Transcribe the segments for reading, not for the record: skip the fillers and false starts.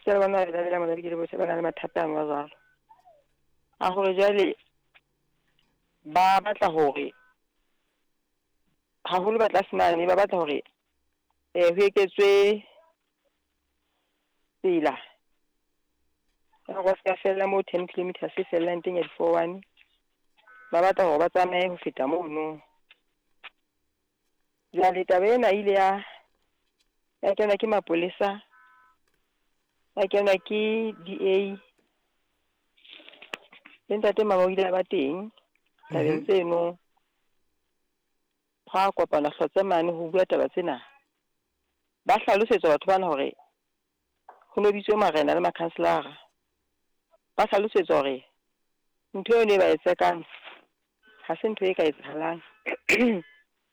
Esita le bona ba bela mona bohle ba na le mathata ano a jwalo. A hore jwale ba batla hore haholo ba tlase mane, ba batla hore ho eketswe tsela. Ya hore ba ska fella moo 10 kilometers e fellang teng ya di-four one. Ba batla hore ba tsamaye ho feta mono. Jwale taba ena e ile ya kenwa ke mapolesa, ya kenwa ke DA, le ntate Mama o ile a ba teng tabeng tseno. Hwa kopana hlotse mane ho bua taba tsena. Ba hlalosetswa batho bana hore ho no bitswe marena le makhanselara. Ba hlalosetswa hore ntho eno e ba e tsekang ha se ntho e ka etsahalang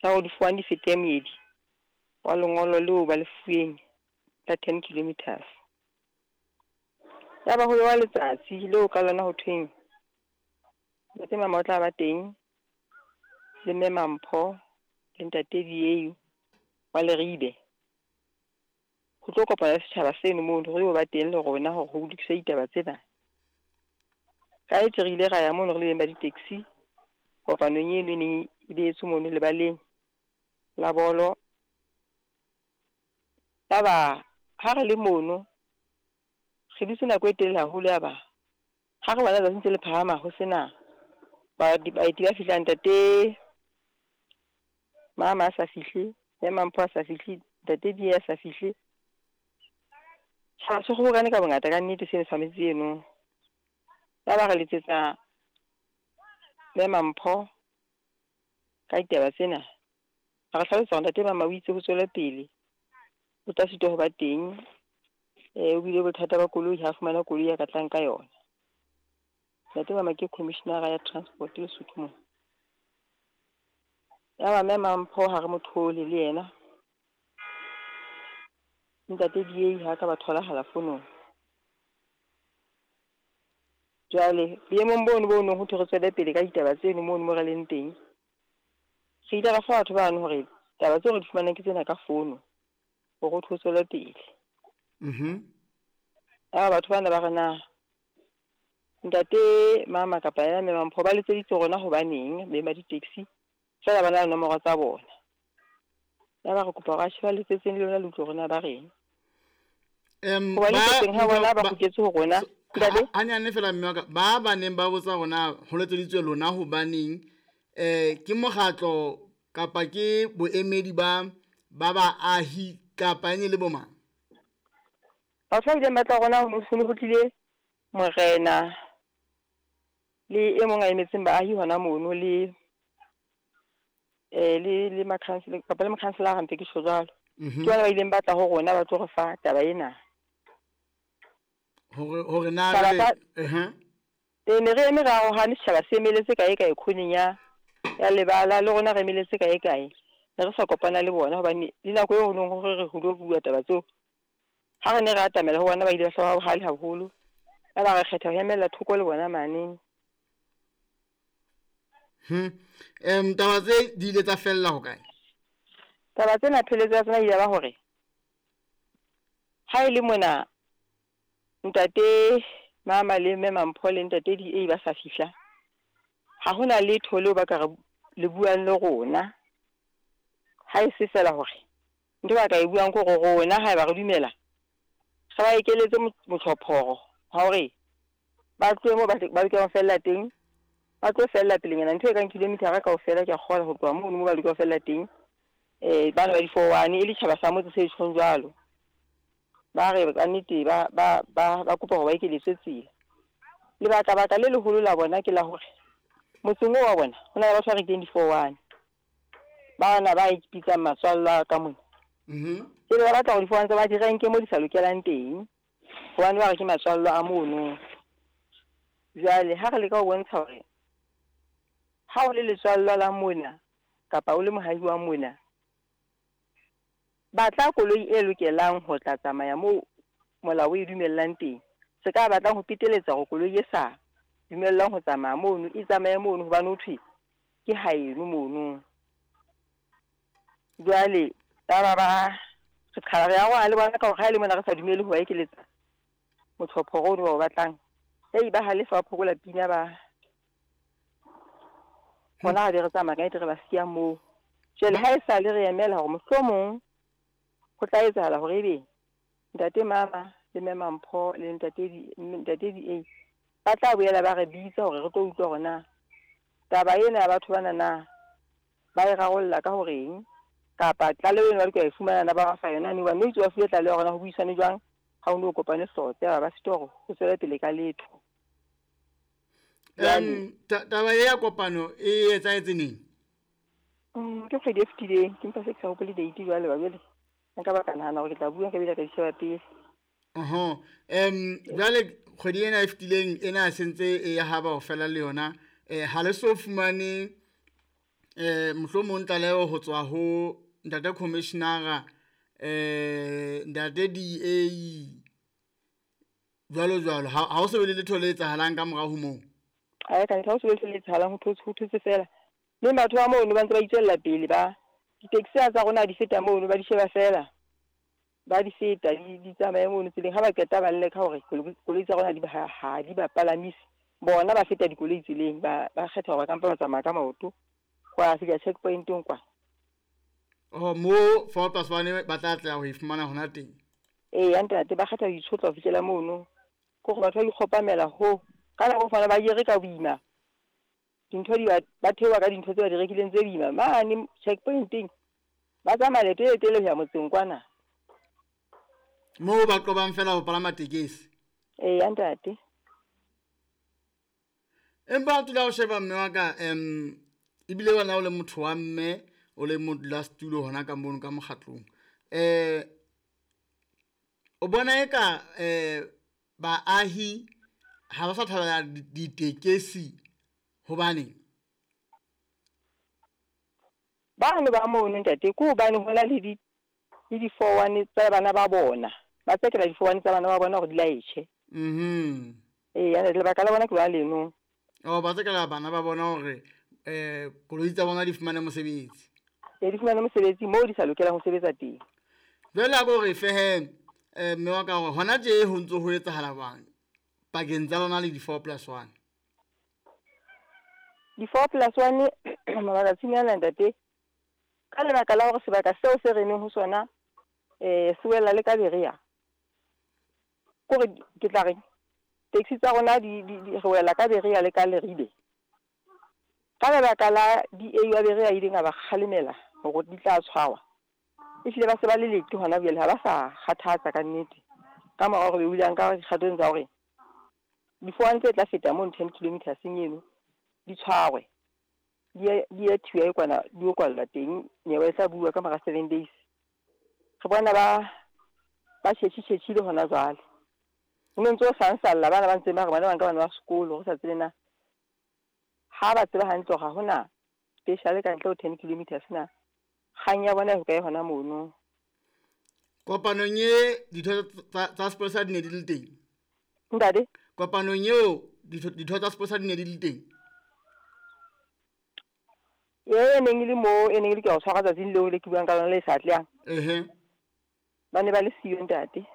ya hore di-four one di fete moedi wa lengolo leo ba le fuweng la 10 kilometers. Ya ba ho bewa letsatsi leo ka lona ho thweng ntate Mama o tla ba teng le mme Mampho le ntate DA wa Leribe. Ho tlo kopana le setjhaba seno mono, re yo ba teng le rona hore ho lokiswe ditaba tsena. Ka etse re ile ra ya mono re le beng ba di-taxi kopanong eno e neng e behetswe mono lebaleng la bolo. Yaba ha re le mono re dutse nako e telele haholo, yaba ha re bona letsatsi ntse le phahama ho sena baeti ba fihlang, ntate Mama a sa fihle, mme Mampho a sa fihle, ntate DA a sa fihle. Tjhaba se kgobokane ka bongata ka nnete seno sa metse eno. Yaba re letsetsa mme Mampho ka ditaba tsena. A re hlalosetsa hore ntate Mama o itse ho tswele pele, o tla sitwa ho ba teng. O bile bothata ba koloi, ha fumana koloi ya ka tlang ka yona. Ntate Mama ke commissioner ya transport Lesotho mona. Yaba mme Mampho ha re mo thole le yena. Ntate DA ha ka ba tholahala fonong. Jwale boemong bono bo nong ho thwe re tswele pele ka ditaba tseno mono mo re leng teng. Re ile ra fa batho bano hore taba tseo re di fumanang ke tsena ka fono hore ho thwe ho tswele pele. Yaba batho bana ba re na ntate Mama kapa yena mme Mampho ba letseditse rona hobaneng beng ba di-taxi, feela ba na le nomoro tsa bona. Yaba re kopa hore atjhe ba letsetseng le lona le utlwe hore na ba reng. Hoba letsetseng ha bona ba kgutletse ho rona. Ntate? Hanyane fela mme wa ka, ba neng ba botsa rona ho letseditswe lona hobaneng, ke mokgatlo kapa ke boemedi ba baahi kapa ene le bo mang? Batho ba ileng ba tla rona ho ne ho tlile morena le e mong a emetseng baahi hona mono le le makhansele kapa le mokhanselara ntse ke tjho jwalo. Ke bona ba ileng ba tla ho rona ba tlo re fa taba ena. Hore na ne re eme re arohane, setjhaba se emeletse kae kae khoneng ya lebala, le rona re emeletse kae kae. Ne re sa kopana le bona hobane le nako eo ho neng hore re ho lo bua taba tseo. Ha re ne re atamela ho bona ba ile ba hlaba bohale haholo. Yaba re kgetha ho emella thoko le bona mane. Taba tse di ile tsa fella ho kae? Taba tsena pheletso ya tsona ile ba hore ha e le mona ntate Mama le mme Mampho le ntate DA ba sa fihla, ha hona letho leo ba ka re le buang le rona. Ha e se fela hore ntho ba ka e buang ke hore rona haeba re dumela re ba ekeletse motlhophoro wa hore ba tlohe moo ba lokelang ho fella teng, ba tlo fella pelenyana ntho e kang kilometer kaofela ke a kgolwa ho tloha mono moo ba lokelang ho fella teng. Bana ba di-four one e le tjhaba sa motse se tjhong jwalo. Ba re ka nnete ba kopa hore ba ekeletswe tsela. Lebaka-baka le leholo la bona ke la hore motseng oo wa bona ho na le batho ba rekileng di-four one. Bana ba ipitsang matswalla ka mona. Jwale ba batla hore di-four one tsa ba di renke mo di sa lokelang teng, hobane ba re ke matswallo a mono. Jwale ha re leka ho bontsha hore ha o le letswallo la mona kapa o le mohahi wa mona, batla koloi e lokelang ho tla tsamaya moo molao o e dumellang teng. Se ka batlang ho peteletsa hore koloi e sa dumellwang ho tsamaya mono e tsamaye mono hobane ho thwe ke haeno mono. Jwale yaba ba re qhala re arohana le bona ka hore ha e le mona re sa dumele ho ba ekeletsa Motjhophoro ono ba o batlang. Hei, ba halefa, ba phokola pina ba hona re be re tsamaya ka nnete re ba siya moo. Jwale ha e sa le re emela hore mohlomong ho tla etsahala hore ebe ntate Mama le mme Mampho le ntate ntate DA ba tla boela ba re bitsa hore re tlo utlwa hore na taba ena ya batho bana na ba e rarolla ka horeng, kapa tlaleho eno ba lokela e fumana na ba ba fa yona ne, hobane no itse ba fuwe tlaleho hore na ho buisane jwang ha o no kopane hlotse, ba ba sitwa hore ho tswele pele ka letho. Taba e ya kopano e etsahetse neng? Ke kgwedi e fetileng, ke mpa se ke sa hopole date jwale ba jwale nka ba ka nahana hore ke tla bua nka bile ka di sheba pele. Oho. Jwale kgwedi ena e fetileng ena sentse e ya haba ho fela le yona. Ha le so fumane mohlomong tlaleho ho tswa ho ntate commissioner, ntate DA jwalo jwalo. Ha ho so be le letho le etsahalang ka morao ho moo. Ae, ka ha o so be le etsahalang, ho thotse fela. Mme batho ba mono ba ntse ba itswella pele, ba di-taxi tsa rona di feta mono, ba di sheba fela, ba di feta di tsamaye mono tseleng. Ha ba qeta ba lle ka hore koloi tsa rona ha di ba palamise, bona ba feta dikoloi tseleng, ba kgetha hore ba kampa ba tsamaya ka maoto ho ya fihla checkpointeng kwa. Oh, mo 4+1 ba tla tla ho e fumana hona teng. Ee, ntate, ba kgetha ho itshotla ho fihlela mono, ke hore batho ba ikgopamela ho ka nako fana ba jere ka boima dintho di ba theoha ka dintho tse ba di rekileng tse boima mane checkpointeng, ba tsamaya leeto le telele ho ya motseng kwana moo ba qobang fela ho palama tekesi. Ee, ntate. Empa o tula o sheba mme wa ka, ebile wena o le motho wa mme, o le modulasetulo hona ka mono ka mokgatlong. O bona eka baahi ha ba sa thabela ditekesi hobane bano ba mono ntate, ke hobane ho na le di 4-1 tsa bana ba bona, ba tsekela di 4-1 tsa bana ba bona hore di laetjhe. Ee, lebaka la bona ke lona leno. Oh, ba tsekela bana ba bona hore koloi tsa bona di fumane mosebetsi. Ee, di fumane mosebetsi moo di sa lokelang ho sebetsa teng. Jwale a ko re fehe mme wa ka hore hona tje ho ntso ho etsahala jwang pakeng tsa lona le di 4+1? Di 4+1 matsatsing ana ntate, ka lebaka la hore sebaka seo se re neng ho sona se wela le ka Berea, kore ke tla reng taxi tsa rona di re wela ka Berea le ka Leribe. Ka lebaka la DA wa Berea ileng a ba kgalemela hore di tla tshwarwa, ehlile ba se ba le lete hona jwale, ha ba sa kgathatsa ka nnete. Ka mora hore be o ile a nka dikgatong tsa hore di 4-1 tse tla feta mono 10 kilometers eno di tshwarwe, di ye thiwa kwana, di yo kwallwa teng, nyewe e tla bua ka mora 7 days. Re bona ba tjhetjhi-tjhetjhile hona jwale. Ho no ntso sansalla bana ba ntseng ba re bona ba nka bana ba sekolo, re sa tsebe na ha ba tseba hantle hore ha hona special ka ntle ho 10 kilometers na kgang ya bona e hokae hona mono. Kopanong e ditho tsa sepolesa di ne di le teng? Ntate? Kopanong eo ditho tsa sepolesa di ne di le teng? E neng e le moo, e neng e le ke ho tshwara tsatsing leo le ke buang ka lona le sa atlehang. Ba ne ba le siyo ntate.